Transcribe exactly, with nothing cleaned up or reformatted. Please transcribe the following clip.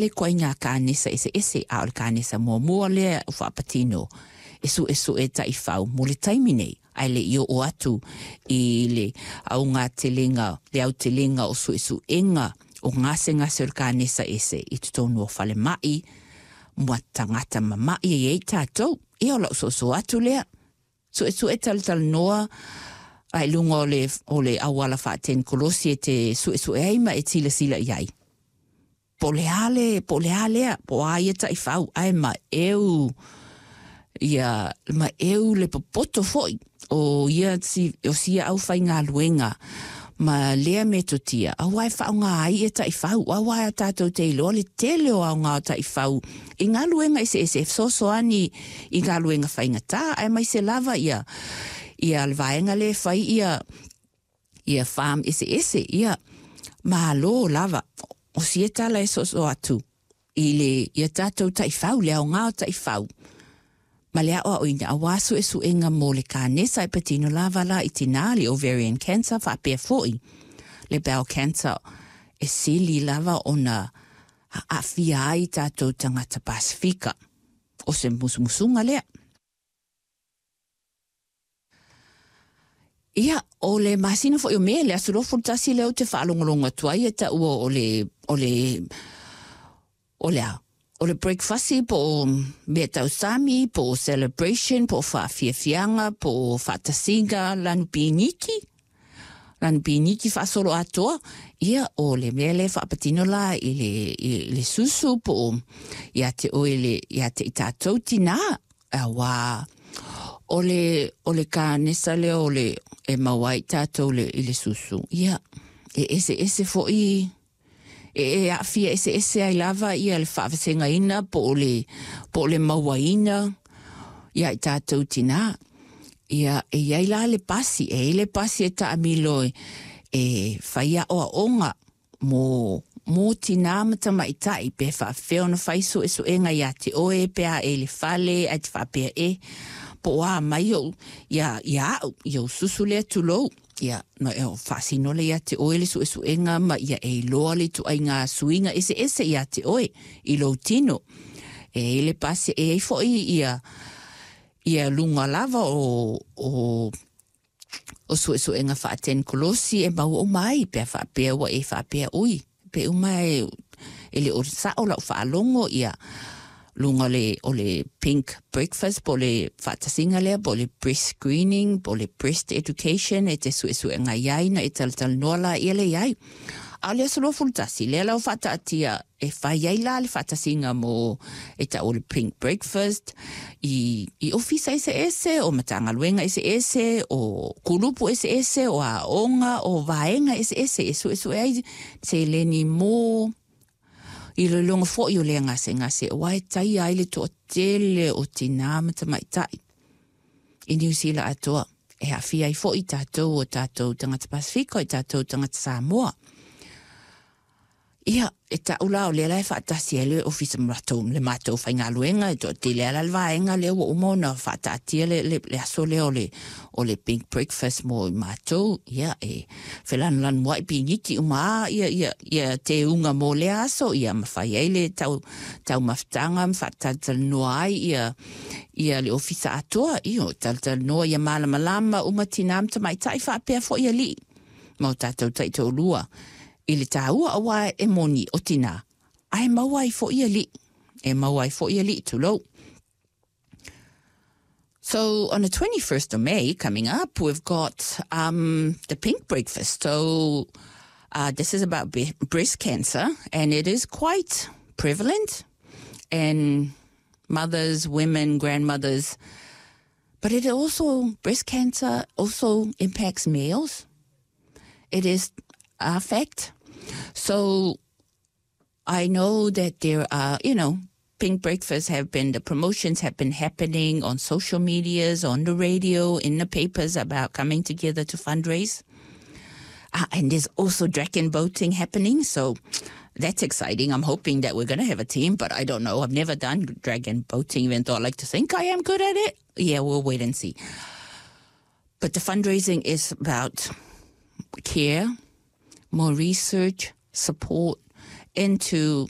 Le ituaiga kanesa eseese, a o le kanesa muamua lea o faapatino e suesue taifau mo le taimi nei, ae le i oo atu i le augatelega, le autelega o suesuega o gasegase o le kanesa ese i totonu o falemai ma tagata mama'i e i ai tatou. Ia, o la'u soso atu lea, suesue, talatalanoa ai luga o le, o le auala faatenikolosi e te suesue ai ma e silasila i ai. Po le a le, po le a lea, po a ia taifau, ae ma eu, ia, ma eu le popoto foi o ia si, o sia au whaingaluenga ma lea metotia, auā e faaaogā ai ia taifau, auā a tatou te iloa le tele o aoga o taifau i galuega eseese e fesoasoani i galuega faigata, aemaise lava ia ia le vaega lea e fai ia ia farm eseese. Ia, malo lava. O sia tala e soso atu i le ia tatou taifau, le aoga o taifau ma le aʻoaʻoina auā suʻesuʻega mo le kanesa e patino lava la i tinā, le ovarian cancer faapea foʻi le bowel cancer e sili lava ona aafia ai tatou tagata Pasifika. O se musumusuga lea. Ia, o le masina foʻi o Me, le aso luasefulu tasi lea ou te faalogologo atu ai e taua o le o le o le a o le breakfast po o mea tausami po o celebration po o faafiafiaga po o faatasiga lanu piniki, lanu piniki faasolo atoa. Ia, o le mea lea faapatino la i le, i le susu po o ia te oe le ia te i tatou tinā, auā o le o le kanesa lea o le e maua ai tatou le i le susu. Ia, e eseese foʻi e e aafia eseese ai lava ia le faavasegaina po o le po o le mauaina ia i tatou tinā. Ia, e iai la le pasi, e i le pasi e taamilo e, e fai aʻoaʻoga mo mo tinā ma tamaitaʻi pe faafefea ona fai suʻesuʻega iā te oe pe a e i le fale ae te faapea e po o a mai ou ia ia aʻu ia ou susu lea, tulou. Ia, ma e faasino le ia te oe le suʻesuʻega ma ia e iloa le ituaiga suiga eseese iā te oe i lou tino. E i le pasi e ai foʻi ia ia luga lava o o o suʻesuʻega faatenikolosi e maua uma ai pe a faapea ua e faapea, ui, pe uma e e le o saʻo lau faalogo ia luga le o le pink breakfast po le faatasiga lea po le breast screening po le breast education e te suʻesuʻega iai na e talatalanoa la ia le iai. A o le aso luafulu tasi lea lau faataatia e fai ai la le faatasiga mo e taʻu le pink breakfast i i ofisa eseese o matagaluega eseese o kulupu eseese o aoga o vaega eseese e suʻesuʻe ai seleni mo iloiloga foʻi o lea gasegase auā e taia ai le toatele o tinā ma tamaitaʻi i Niu Sila atoa e aafia ai foʻi tatou o tatou tagata Pasifika, i tatou tagata Samoa. Ia, e taʻu la o lea la e faatasi ai le ofisa ma latou le matou faigaluega e toatele ala le vaega lea ua uma ona faataatia le, le, le aso lea o le, o le pink breakfast mo i matou. Ia, e felanulanuaʻi piniki uma a ia, ia, ia teuga mo lea aso, ia ma fai ai le tau, taumafataga ma faatalatalanoa ai ia, ia le ofisa atoa. Ia, o talatalanoa ia malamalama uma tinā ma tamaitaʻi faapea foʻi aliʻi ma o tatou taitoalua i le tāua, auā e moni o tinā ae maua ai foʻi aliʻi, e maua ai foʻi aliʻi, tulou. So on the twenty-first of May coming up, we've got um, the pink breakfast. So uh, this is about be- breast cancer, and it is quite prevalent in mothers, women, grandmothers. But it also, breast cancer also impacts males. It is a fact. So I know that there are, you know, pink breakfasts have been, the promotions have been happening on social medias, on the radio, in the papers about coming together to fundraise. Uh, and there's also dragon boating happening. So that's exciting. I'm hoping that we're going to have a team, but I don't know. I've never done dragon boating, even though I like to think I am good at it. Yeah, we'll wait and see. But the fundraising is about care, more research, support into